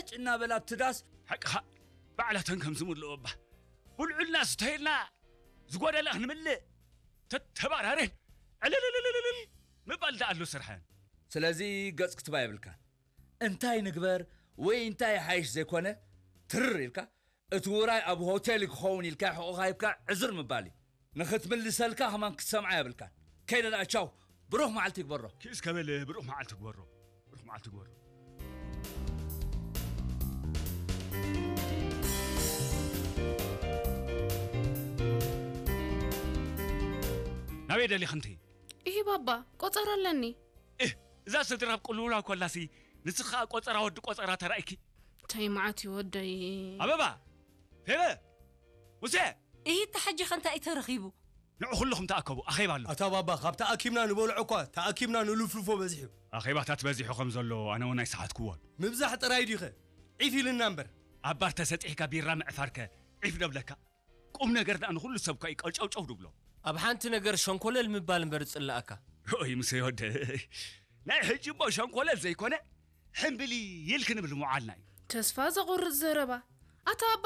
ጭና በላ ኣብቲ ዳስ። ሓቅኻ፣ ባዕላተን ከም ዝምልኦ እባ። ብልዑልና ስተይልና ዝጎደለ ክንምልእ ተተባራረን ዕልልልልልል ምባል ደኣ ኣሎ ስርሐን። ስለዚ ገጽ ክትባ የብልካን። እንታይ ንግበር ወይ እንታይ ሓይሽ ዘይኮነ ትርር ኢልካ እቲ ውራይ ኣብ ሆቴል ክኸውን ኢልካ ሕቑኻ ሂብካ ዕዝር ምባል እዩ። ንኽትምልሰልካ ከማን ክትሰምዓ የብልካን። ከይደ ደኣ ቻው። ብሩኽ መዓልቲ ይግበሮ። ኪስ ከበል ብሩኽ መዓልቲ ግበሮ። ብሩኽ መዓልቲ ግበሮ። ናበይ ደሊኽንቲ? ኢሂ ባባ፣ ቆጸራ ኣለኒ። እህ፣ እዛ ስድራ ኣብ ቅልውላው ኮላሲ ንስኻ ቆጸራ ወዲ ቆጸራ ተራእይኪ። እንታይ መዓት እዩ ወደይ። ኣበባ፣ ፌበ፣ ሙሴ። ኢሂ፣ እታ ሕጂ ኸ እንታይ እዩ ተረኺቡ? ንዑ ኩልኹም ተኣከቡ፣ ኣኼባ ኣሎ። ኣታ ባባ፣ ካብ ተኣኪብና ንበልዖ እኳ ተኣኪብና ንልፍልፎ በዚሑ። ኣኼባታት በዚሑ ከም ዘሎ ኣነ እውን ኣይሰሓትኩዎን። ምብዛሕ ጥራይ ድዩኸ? ዒፍ ኢልና እምበር። ኣብ ባር ተሰጢሕካ ቢራ ምዕፋርከ ዒፍ ደብለካ። ቁም ነገር ደኣ ንኹሉ ሰብ እኳ እዩ ቀጨውጨው ድብሎ። ኣብ ሓንቲ ነገር ሸንኮለል ምባል እምበር ዝጽላኣካ። ኦይ፣ ሙሴ ወደይ። ናይ ሕጂ እሞ ሸንኮለል ዘይኮነ፣ ሕምብሊ ኢልኪ ንብል ምውዓልና እዩ። ተስፋ ዘቑርጽ ዘረባ። ኣታ ኣባ፣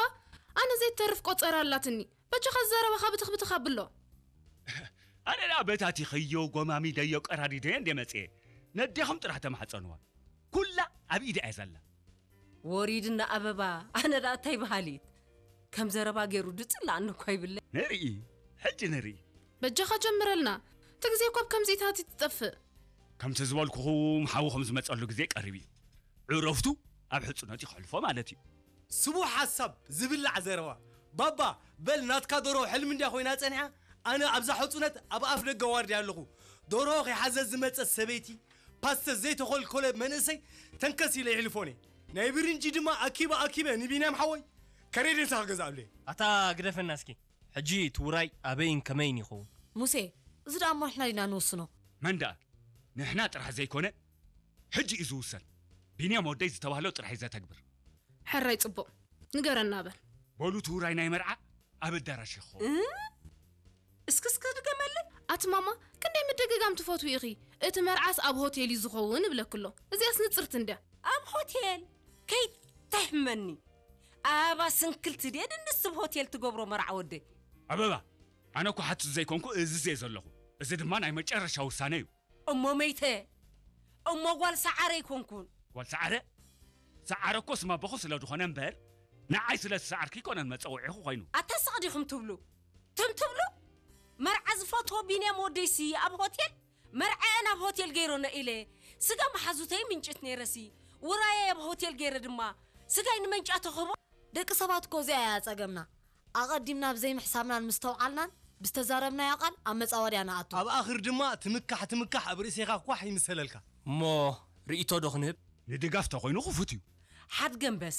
ኣነ ዘይተርፍ ቆጸራ ኣላትኒ። በጃኻ ዘረባኻ ብትኽ ብትኽ ኣብሎ። ኣነ ደኣ በታቲኸዮ፣ ጎማሚደዮ፣ ቀራዲደዮ እንደ መጽኤ። ነዴኹም ጥራሕ ተማሕጸንዋ። ኩላ ኣብ ኢዳ እያ ዘላ። ወሪድና ኣበባ፣ ኣነ ደኣ እንታይ በሃሊት? ከም ዘረባ ገይሩ ድጽላኣኒ እኳ ይብለ። ንርኢ፣ ሕጂ ንርኢ። በጃኻ ጀምረልና። እቲ ግዜ እኮ ኣብ ከምዚታት እዩ ትጠፍእ። ከምቲ ዝበልኩኹም፣ ሓዊ ከም ዝመጸሉ ግዜ ቀሪቡ እዩ። ዕረፍቱ ኣብ ሕጽኖት እዩ ከሕልፎ ማለት እዩ። ስቡሕ ሓሳብ ዝብላዕ ዘረባ። ባባ፣ በል ናትካ ደርሆ ሕልሚ እንድያ ኮይና ጸኒሓ፣ ኣነ ኣብዛ ሕጹነት ኣብ ኣፍ ደገ ዋርድያ ኣለኹ። ደርሆ ከይሓዘ ዝመጸት ሰበይቲ፣ ፓስተ ዘይተኾልኮለ መንእሰይ ተንከስ ኢለ ይሕልፎን እየ። ናይ ብርንጂ ድማ ኣኪበ ኣኪበ ንቢንያም ሓወይ ከሬዴታ ክገዝኣሉ እየ። ኣታ ግደፈና እስኪ። ሕጂ እቲ ውራይ ኣበይን ከመይን ይኸውን? ሙሴ፣ እዚ ደኣ እሞ ንሕና ዲና ንውስኖ? መን ደኣ? ንሕና ጥራሕ ዘይኮነ፣ ሕጂ እዩ ዝውሰን። ቢንያም ወደይ ዝተባህሎ ጥራሕ እዩ ዘተግብር። ሕራይ ጽቡቕ። ንገረና በል። በሉ እቲ ውራይ ናይ መርዓ ኣብ ኣዳራሽ ይኸውን። እ? እስኪ እስኪ ድገመለይ። ኣቲ ማማ፣ ክንደይ ምድግጋም ትፈትዊ ኢኺ? እቲ መርዓስ ኣብ ሆቴል እዩ ዝኸውን እብለኪ ኣሎ። እዚኣስ ንጽርቲ እንድያ። ኣብ ሆቴል? ከይተሕመኒ። ኣበባ ስንክልቲ ድየ ድንስ ብ ሆቴል ትገብሮ መርዓ ወደይ? ኣበባ፣ ኣነ እኮ ሓትት ዘይኮንኩ እዝዝ እየ ዘለኹ። እዚ ድማ ናይ መጨረሻ ውሳነ እዩ። እሞ መይተ? እሞ ጓል ሰዓረ ኣይኮንኩን። ጓል ሰዓረ? ሰዓረ እኮ ስም ኣቦኹ ስለ ዝኾነ እምበር፣ ንዓይ ስለ ዝሰዓርኪ ኣይኮነን መጸውዒኹ ኮይኑ። ኣታ ስቕ ዲኹም ትብሉ? ትም ትብሉ? መርዓ ዝፈትዎ ቢንያም ወደይሲ ኣብ ሆቴል? መርዓኤን ኣብ ሆቴል ገይሮነ ኢለ ስጋ መሓዙተይ ምንጭት ነይረሲ፣ ውራየይ ኣብ ሆቴል ገይረ ድማ ስጋይ ንመንጫ ተኽቦ። ደቂ ሰባት እኮ እዚኣ እያ ጸገምና። ኣቐዲምና ብዘይምሕሳብናን ምስተውዓልናን ብዝተዛረብናዮ ቃል ኣብ መጻወድያ ንኣቱ። ኣብ ኣኽር ድማ ትምካሕ ትምካሕ ኣብ ርእሴኻ ኳሕ ይምሰለልካ። እሞ ርእይቶ ዶ ክንህብ? ንድጋፍ ተኾይኑ ክፉት እዩ። ሓድገምበስ፣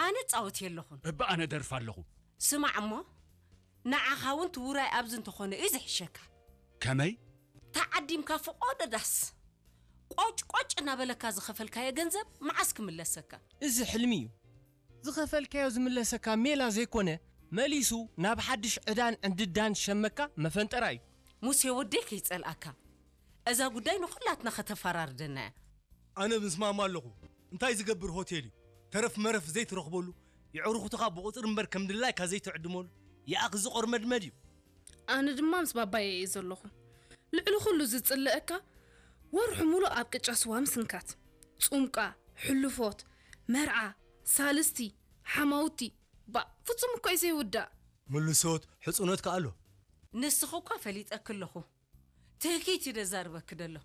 ኣነ ጻወት የለኹን። እባ ኣነ ደርፍ ኣለኹ። ስማዕ እሞ፣ ንዓኻ እውን እቲ ውራይ ኣብዚ እንተኾነ እዩ ዝሕሸካ። ከመይ? ተዓዲምካ ፍቖዶ ዳስ ቆጭ ቆጭ እናበለካ ዝኸፈልካዮ ገንዘብ መዓስ ክምለሰካ? እዚ ሕልሚ እዩ። ዝኸፈልካዮ ዝምለሰካ ሜላ ዘይኮነ፣ መሊሱ ናብ ሓድሽ ዕዳን ዕንድዳን ሸመካ መፈንጠራ እዩ። ሙሴ ወደይ ከይጸልኣካ፣ እዛ ጉዳይ ንኹላትና ከተፈራርደና እያ። ኣነ ምስማማ ኣለኹ። እንታይ ዝገብር ሆቴል እዩ? ተረፍ መረፍ ዘይትረኽበሉ፣ የዕሩኽትኻ ብቑጽሪ እምበር ከም ድላይካ ዘይትዕድመሉ፣ ይኣኽ ዝቖርመድመድ እዩ። ኣነ ድማ ምስ ባባየ እየ ዘለኹ። ልዕሊ ኩሉ ዝጽልአካ፣ ወርሑ ሙሉእ ኣብ ቅጫ ስዋ ምስንካት። ጹምቃ፣ ሕልፎት፣ መርዓ፣ ሳልስቲ፣ ሓማውቲ፣ ባእ፣ ፍጹም እኮ እዩ ዘይውዳእ። ምልሶት፣ ሕጽኖት ከኣ ኣሎ። ንስኺ እኳ ፈሊጠኪ ኣለኹ። ትህኪት እዩ ደዛርበኪ ደሎ።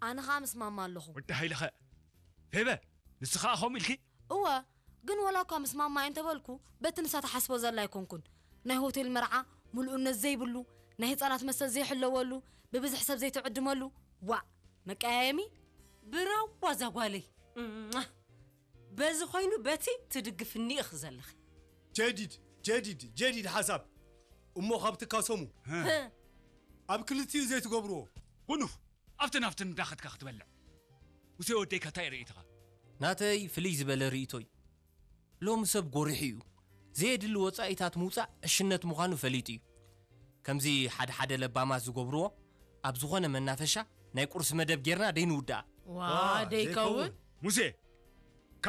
ኣነ ኸኣ ምስማማ ኣለኹ። ወዲ ሃይለኸ፣ ፌበ፣ ንስኻ ከምኡ ኢልኪ? እወ፣ ግን ወላ እኳ ምስማማ እየ እንተበልኩ፣ በቲ ንሳ ትሓስቦ ዘላ ኣይኮንኩን። ናይ ሆቴል መርዓ፣ ምሉእነት ዘይብሉ፣ ናይ ህጻናት መስተ ዘይሕለወሉ፣ ብብዝሒ ሰብ ዘይትዕድመሉ፣ ዋእ፣ መቀያየሚ? ብራዋ እዛ ጓለይ። እሟ። በዚ ኮይኑ በቲ ትድግፍኒ ኢኺ ዘለኺ። ጀዲድ፣ ጀዲድ፣ ጀዲድ ሓሳብ። እሞ ካብ ትካሰሙ፣ ህ። ኣብ ክልቲኡ ዘይትገብርዎ። ጉኑፍ፣ ኣብትን ኣብትን እንዳኸድካ ክትበልዕ። ሙሴ ወደይ ከ እንታይ ርእይትኻ? ናተይ ፍልይ ዝበለ ርእይቶ እዩ። ሎሚ ሰብ ጎሪሑ እዩ። ዘየድሊ ወጻኢታት ምውጻእ ዕሽነት ምዃኑ ፈሊጡ እዩ። ከምዚ ሓደ ሓደ ለባማት ዝገብርዎ፣ ኣብ ዝኾነ መናፈሻ ናይ ቁርሲ መደብ ጌርና ደይንውድኣ። ዋ፣ ዋ፣ ደይከውን? ዘይከውን። ሙሴ፣